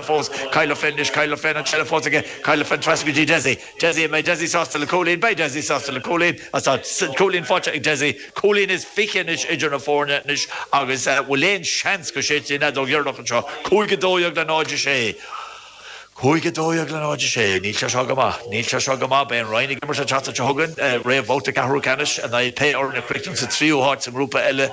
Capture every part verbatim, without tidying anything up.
fós Kyle Flynn is Kyle Flynn an tseilbh fós aige Kyle Flynn trasna go dtí Desi Desi mbeidh Desi sásta le cúilín beidh Desi sásta le cúilín tá cúilín faighte ag Desi cúilín is fiche anois idir na foirne anois agus bhfuil aon seans go séidfidh an fheadóg dheireanach anseo cúig a dó dhéag le náid a sé. Cúig a dó dhéag le náid a sé, níl sé seo go maith, níl sé seo go maith, beidh an Rinn ag imirt an tseachtain seo chugainn, réamhbhabhta ceathrú ceannais in aghaidh pé fhoireann a chríochnaíonn sa tríú háit sa ngrúpa eile.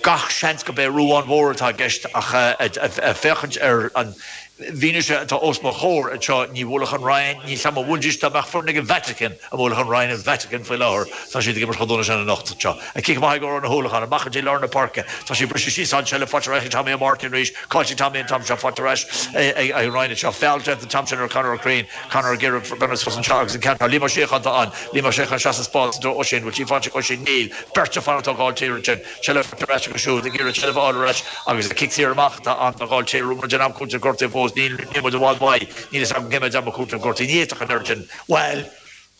Gach seans go b'é Ruán Mhór atá i gceist ach ag féachaint ar an bhfianaise atá os mo chomhair anseo, ní bhuailfeadh an Rinn, níl 's a'm an mbuailfidís dá mbeadh foireann ag an Vatican an mbuailfeadh an Rinn an Vatican faoi láthair, tá siad ag imirt chomh dona sin anocht anseo. An cic amach ag Odhrán Ó hUallacháin, amach go dtí lár na páirce, tá sé briseadh síos an tseilbh faighte ar ais ag Tommy Ó Máirtín arís, caillte ag Tommy an t-am seo, faighte ar ais ag an Rinn anseo, feall déanta an t-am sin ar Conor Ó Curraoin, Conor ag iarraidh breathnú suas anseo agus an ceann seo, Liam Ó Síocháin atá ann, Liam Ó Síocháin isteach sa spás i dtreo Oisín, bhfuil sí faighte ag Oisín? Níl, beirt ag fanacht ó Ghailltír ansin, seilbh faighte ar ais acu siúd ag iarraidh seilbh a fháil ar ais agus cic saor amach atá ann do Ghailltír, an bhfuil muid in am cúiteamh gortaithe fós, níl, níl muid i bhfad uaidh, níl fhios agam cé mhéad am a cúiteamh gortaithe, ní fhéadfadh an oiread sin, bhuel,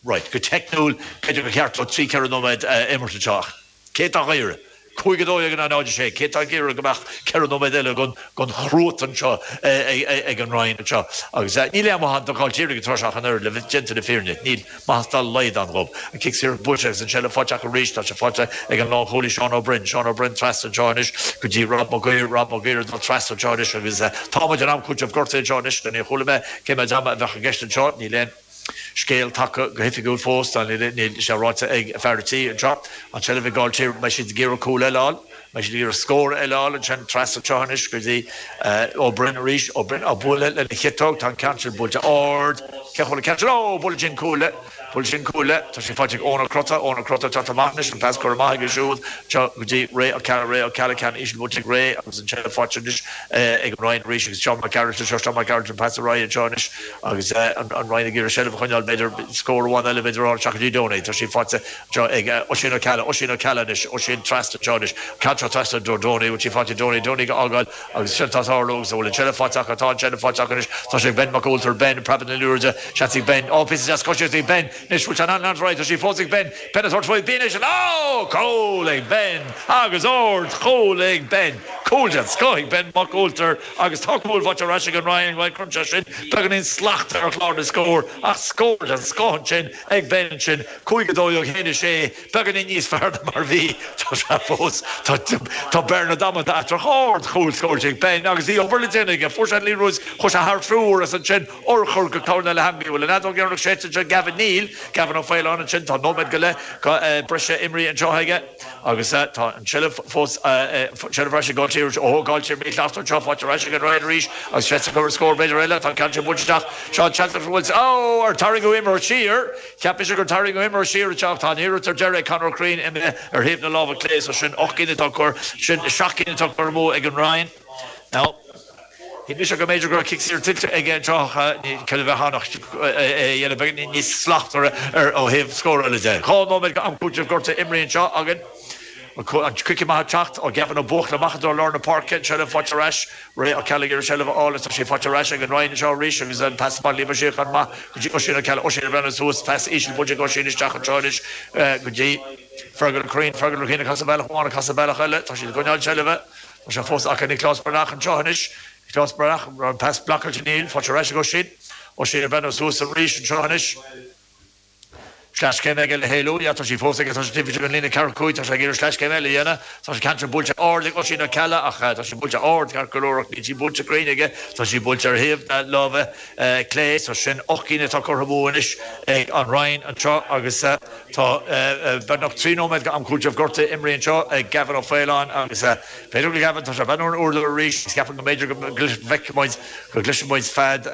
right, go teicniúil, b'fhéidir gur cheart dó trí ceithre nóiméad a imirt anseo ach cé atá á iarraidh? Cúig a dó dhéag in aghaidh náid a sé, cé atá ag iarraidh go mbeadh ceithre nóiméad eile den chruatan seo ag an Rinn anseo? Agus níl aon mhaith ann do Ghailltír ag an tráth seo ach an oiread, le bheith déanta na fírinne, níl maitheas dá laghad ann dhóibh. An cic saor buailte agus an tseilbh faighte acu arís, tá sé faighte ag an lánchúlaí Seán Ó Broin. Seán Ó Broin trasna anseo anois go dtí Rob Mac Uidhir, Rob Mac Uidhir ag dul trasna anseo anois agus tá muid in am cúiteamh gortaithe anseo anois. Níor chuala mé cé mhéad ama a bheadh i gceist anseo, níl aon. Scéal tagtha go hoifigiúil fós, níl sé ráite ag fear an tí anseo. An tseilbh ag Gailltír, mbeidh siad ag iarraidh cúl eile a fháil, mbeidh siad ag iarraidh scór eile a fháil ansin trasna anseo anois go dtí Ó Broin arís, Ó Broin á bualadh lena chiotóg, tá an ceann sin buailte ard, cé chuala an ceann sin, ó, buaileann sin cuaille, buaileann sin cuaille, tá sé faighte ag Eoin Ó Crotta, Eoin Ó Crotta ag teacht amach anois, an pas curtha amach aige siúd anseo go dtí Ray Ó Ceallaigh, Ray Ó Ceallaigh, ceann íseal buailte ag Ray agus an tseilbh faighte anois ag an Rinn arís agus Seán Mac Gearailt anseo, Seán Mac Gearailt an pas ar aghaidh anseo anois. Agus an Rinn ag iarraidh seilbh a choinneáil, b'fhéidir scór amháin eile b'fhéidir a fháil isteach go dtí Donie. Tá sí faighte anseo ag Oisín Ó Ceallaigh. Oisín Ó Ceallaigh anois. Oisín trasna anseo anois. Ceann seo trasna i dtreo Donie. Bhfuil sí faighte ag Donie? Donie ag fhágáil agus sin atá ag tarlú agus an bhfuil an tseilbh faighte acu? Tá an tseilbh faighte acu anois. Tá sé ag Ben Mac Ualtair. Ben ag preabadh na liathróide. Seans ag Ben. Ó, píosa deas coisíochta ag Ben. Anois bhfuil sé in ann leanacht ar aghaidh? Tá sí fós ag Ben. Ben ag tabhairt faoi. Ben anois. Ó! Cúl ag Ben! Agus ardchúl ag Ben! Cúl den scoth ag Ben Mac Ualtair agus tá cúl faighte ar ais ag an Rinn. Bhuel, cuireann sé sin beagáinín slachta ar chlár na scór ach scór den scoth ansin ag Ben ansin, cúig a dó dhéag, haon a sé, beagáinín níos fearr ná mar a bhí. Tá sé fós, tá, tá bearna damanta eatarthu. Ardchúl scóráilte ag Ben agus bhí obair le déanamh aige. Fuair sé an liathróid, chuaigh sé thar triúr agus ansin urchar go corna le heangaí. Bhfuil an fheadóg dheireanach séidte anseo ag Gavin? Níl. Gavin Ó Faoláin ansin, tá nóiméad go leith breise imrithe anseo aige agus tá an tseilbh fós, seilbh ar ais ag Gailltír. Ó, Gailltír míchleachta anseo, faighte ar ais ag an Rinn arís agus seans acu ar scór b'fhéidir eile. Tá an ceann sin buailte isteach. Seo an seans acu bhfuil, ó, ar tarraingeadh imreoir siar? Cheap mise gur tarraingeadh imreoir siar anseo ach tá an iarracht ar deireadh ag Conor Ó Curraoin imithe ar thaobh na láimhe clé so sin ocht gcinn atá curtha, sin seacht gcinn atá curtha amú ag an Rinn. Now. Shíl mise go mb'fhéidir go raibh cic saor tuillte aige anseo ach cad a bheadh ann ach é a dhéanamh beagáinín níos slachtmhaire ar ó thaobh scórála de. Dhá nóiméad go am cúitimh gortaithe imrithe anseo againn. An cic amach ag teacht ó Gavin Ó Buachalla amach i dtreo lár na páirce. An tseilbh faighte ar ais. Ray Ó Ceallaigh ag iarraidh seilbh a fháil agus tá sí faighte ar ais ag an Rinn anseo arís agus an pas amach Liam Ó Síocháin amach go dtí Oisín Ó Ceallaigh. Oisín ag breathnú suas. Pas íseal buailte ag Oisín isteach anseo anois go dtí Fergal Ó Curraoin. Fergal Ó Curraoin ag casadh bealach amháin ag casadh bealach eile. Tá siad ag coinneáil seilbhe. Tá sé fós acu Nioclás Breathnach anseo anois. Nioclás Breathnach, an raibh an pas blocáilte? Níl. Faighte ar ais ag Oisín. Oisín ag breathnú suas arís anseo anois. Sleaschéim aige le héalú. Yeah, tá sí fós aige. Tá sé taobh istigh den líne ceathracha cúig. Tá sé ag iarraidh sleaschéim eile a dhéanamh. Tá an ceann sin buailte ard ag Oisín Ó Ceallaigh ach tá sí buailte ard ceart go leor ach níl sí buailte cruinn aige. Tá sí buailte ar thaobh na láimhe clé. So sin ocht gcinn atá curtha amú anois ag an Rinn anseo agus Tá beagnach trí nóiméad go am cúitimh gortaithe imrithe anseo ag Gavin Ó Faoláin agus b'fhéidir go Gavin, tá sé ag breathnú ar an uair arís agus ceapaim go mb'fhéidir go bhfeicfidh muid, go gcloisfidh muid fead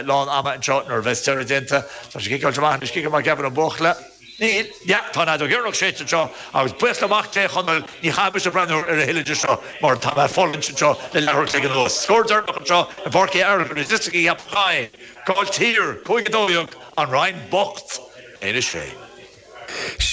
lán ama anseo nuair a bheas deireadh déanta. Tá sé ciceáilte amach anois, cic amach Gavin Ó Buachalla. Níl, yeah, tá an fheadóg dheireanach séidte anseo agus buíochas le Mac Dé a Chonaill, ní chaithfidh mise breathnú ar a thuilleadh de seo mar tá mé ag fulaingt anseo le leathuair an chloig anuas. Scór deireanach anseo i bPáirc Uí Fhearchair i dTiosach Uí Cheapacháin, Gailltír, cúig a dó dhéag, An Rinn bocht. Inis Féin.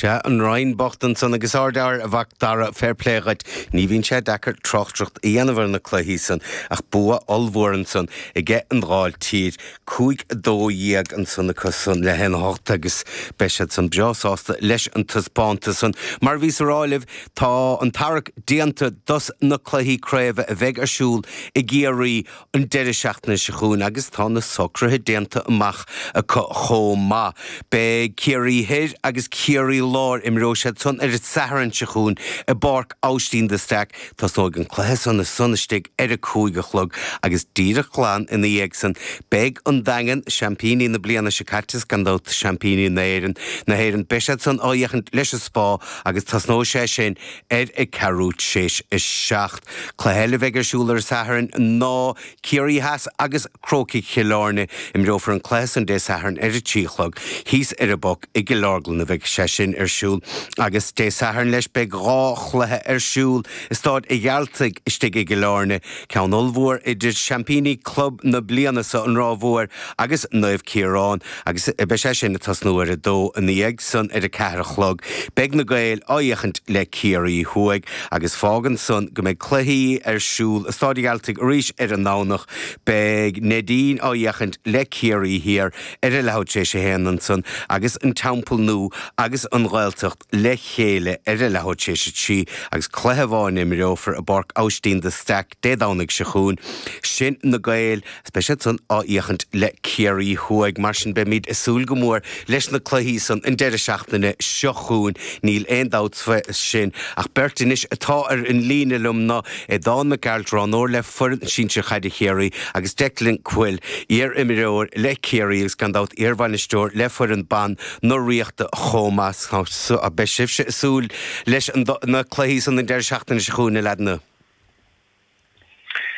Sea, an Rinn bocht ansan agus ardfhear a Mhac Dara, fair play dhuit. Ní bhíonn sé deacair tráchtaireacht a dhéanamh ar na cluichí san ach bua ollmhór ansan aige an Dál Tír, cúig a dó dhéag ansan acu san le haon a hocht agus beidh siad san breá sásta leis an taispeántas san. Mar a bhíos a rá libh, tá an tarrac déanta dos na cluichí craoibhe a bheidh ar siúl i gCiarraí an deireadh seachtaine seo chugainn agus tá na socruithe déanta amach acu chomh maith. Beidh Ciarraí Thoir agus Ciarraí Láir, imreoidh siad san ar an Satharn seo chugainn i bPáirc Aibhistín de Staic. Tosnóidh an cluiche san ansan istigh ar a cúig a chlog agus díreach glan ina dhiaidh san beidh an Daingean, seaimpíní na bliana seo caite is gan dabht seaimpíní na hÉireann, na hÉireann, beidh siad san á fhéachaint leis an Spá agus tosnóidh sé sin ar a ceathrú tar éis a seacht. Cluiche eile a bheidh ar siúl ar an Satharn ná Ciarraí Theas agus Crócaigh Chill Airne. Imreofar an cluiche san Dé Sathairn ar a trí a chlog thíos ar an bPoc i gCill Orglan a bheidh sé sin ar siúl. Agus Dé Sathairn leis beidh dhá chluiche ar siúl i Staid a' Ghearaltaigh istigh i gCill Airne, ceann ollmhór idir seaimpíní club na bliana seo, an Ráth Mhór agus Naomh Ciarán, agus beidh sé sin ag tosnú ar a dó ina dhiaidh san ar a ceathair a chlog. Beidh na Gaeil á fhéachaint le Ciarraí Thuaidh agus fágann san go mbeidh cluichí ar siúl i Staid a' Ghearaltaigh arís ar an nDomhnach. Beidh Neidín á fhéachaint le Ciarraí Thiar ar a leathuair tar éis a haon ansan agus an Teampall Nua agus an Ghaeltacht le chéile ar a leathuair tar éis a trí agus cluiche amháin a imreofar i bPáirc Aibhistín de Staic Dé Domhnaigh seo chugainn. Sin na Gaeil agus beidh siad san á fhéachaint le Ciarraí Thuaidh. Mar sin beimid ag súil go mór leis na cluichí san an deireadh seachtaine seo chugainn, níl aon dabht faoi sin. Ach beirt anois atá ar an líne liom ná Aodán Mac Gearailt, roghnóir le foireann sinsir chaide Chiarraí agus Declan Coyle, iar-imreoir le Ciarraí agus gan dabht iarbhainisteoir le foireann ban na Ríochta chomh maith. Beidh sibhse ag súil leis na cluichí san an deireadh seachtaine seo chugainn, a leaideanna.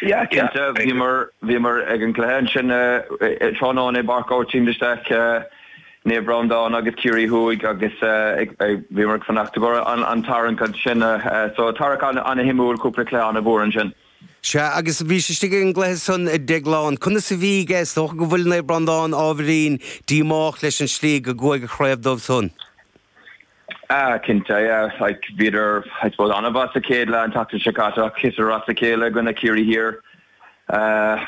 Yeah, cinnte, bhíomar bhíomar ag an gcluiche ansin tráthnóna i bPáirc Aibhistín de Staic, Naomh Breandán agus Ciarraí Thuaidh agus bhíomar ag fanacht i gcomhair an tarraingt ansin. So tarrac an-shuimiúil, cúpla cluiche an-mhór ansin. Sea, agus bhís istigh ag an gcluiche san, a Dhéagláin. Conas a bhí aige? Is dócha go bhfuil Naomh Breandán ábhairín díomách leis an slí go gcuaigh an chraobh dóibh san. Ah, cinnte, yeah. Like, bhíodar, I suppose, an-mhaith sa chéad leath an tseachtain seo caite ach thiteadar as a chéile i gcoinne Ciarraí Thiar.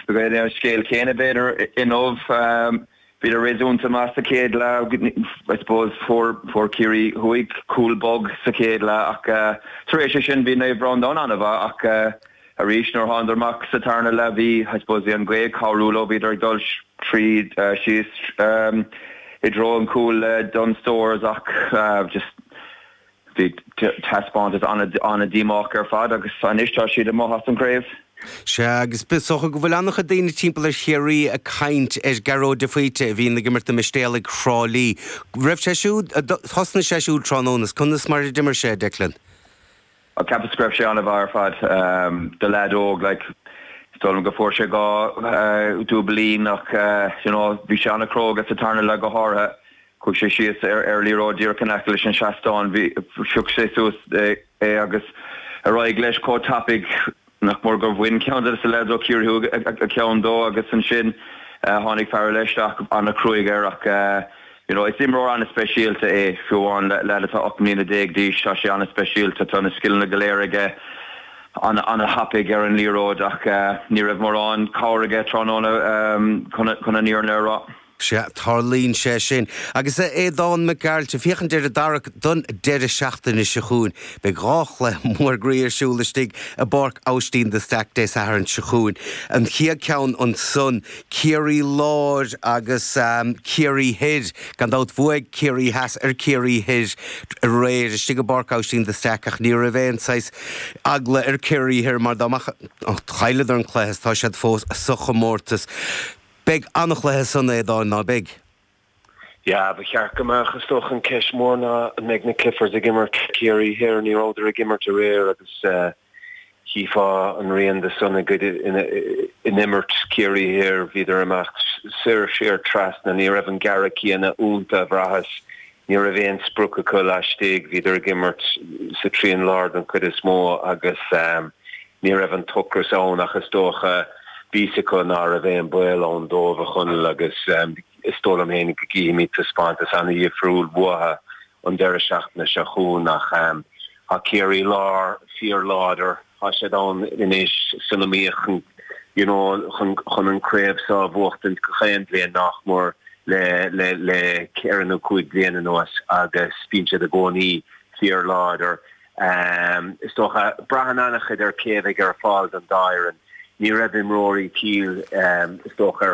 B'é an scéal céanna, b'fhéidir, inniu. Bhíodar réasúnta maith sa chéad leath, I suppose, fuair, fuair Ciarraí Thuaidh cúl bog sa chéad leath ach tar éis sin bhí Naomh Breandán an-mhaith ach arís nuair a thánadar amach sa tarna leath bhí, I suppose, bhí an ghaoth ag cabhrú leo, bhíodar ag dul tríd síos i dtreo an chúil le Dunne Stores ach just bhí taispeántas an-díomách ar fad agus anois tá siad amuigh as an chraobh. Sea, agus is dócha go bhfuil an-chuid daoine timpeall ar Chiarraí ag caint ar Gearóid de Faoite a bhíonn ag imirt do Mistéalaigh Thrá Lí. Raibh sé siúd, thosnaigh sé siúd tráthnóna, conas mar a d'imir sé, Declan? Cheapas go raibh sé an-mhaith ar fad do leaid óg like is dóigh liom go fuair sé dhá dúbailín ach you know bhí sé an-chróga sa tarna leath go háirithe. Chuaigh sé síos ar ar liathróid díreach in aice leis an seastán, bhí phioc sé suas é agus ar aghaidh leis chomh tapaidh nach mór gur bhain ceann de na leaids ó Chiarraí Thuaidh a cheann dó agus ansin tháinig fear eile isteach an-chruaidh air ach you know is imreoir an-speisialta é, fiú amháin leaid atá ocht mbliana déag d'aois, tá sé an-speisialta, tá na scileanna go léir aige, an-thapaidh ar an liathróid ach ní raibh mórán cabhair aige tráthnóna chun an fhírinne a rá. Sea, tarlaíonn sé sin. Agus a Aodáin Mhic Gearailt, ag féachaint ar an dtarrac don deireadh seachtaine seo chugainn, beidh dhá chluiche mór groí ar siúl istigh i bPáirc Aibhistín de Staic Dé Sathairn seo chugainn. An chéad cheann ansan, Ciarraí Láir agus Ciarraí Thoir. Gan dabht, bhuaigh Ciarraí Theas ar Ciarraí Thoir aréir istigh i bPáirc Aibhistín de Staic ach ní raibh aon saghas eagla ar Ciarraí Thoir mar dá mbeadh, chailleadar an cluiche is tá siad fós sa chomórtas. Beidh an-chluiche san, a Aodáin, ná beidh? Yeah, ba cheart go mbeadh. Is dócha an ceist mór ná an mbeidh na Cliffords ag imirt Ciarraí Thoir. Ní rabhadar ag imirt aréir agus chífeá an rian de san i gcuid in imirt Ciarraí Thoir. Bhíodar imeacht soir siar trasna. Ní raibh an gearradh céanna iontu a bhraitheas. Ní raibh aon sprioc acu laistigh, bhíodar ag imirt sa trian láir den chuid is mó agus ní raibh an t-ocras ann ach is dócha bhí fhios acu ná raibh aon baol ann dóibh a Chonaill agus is dóigh liom féin go gcífimid taispeántas an-dhifriúil uathu an deireadh seachtaine seo chugainn ach tá Ciarraí Láir fíorláidir, tá siad ann anois san iomaíocht you know chun chun an craobh seo a bhuachtaint gach aon bhliain nach mór le le le ceithre nó cúig bliana anuas agus bíonn siad i gcónaí fíorláidir. Is dócha, braitheann an-chuid ar cé a bheidh ar fáil don dá fhoireann. Ní raibh imreoirí Cill is dócha ar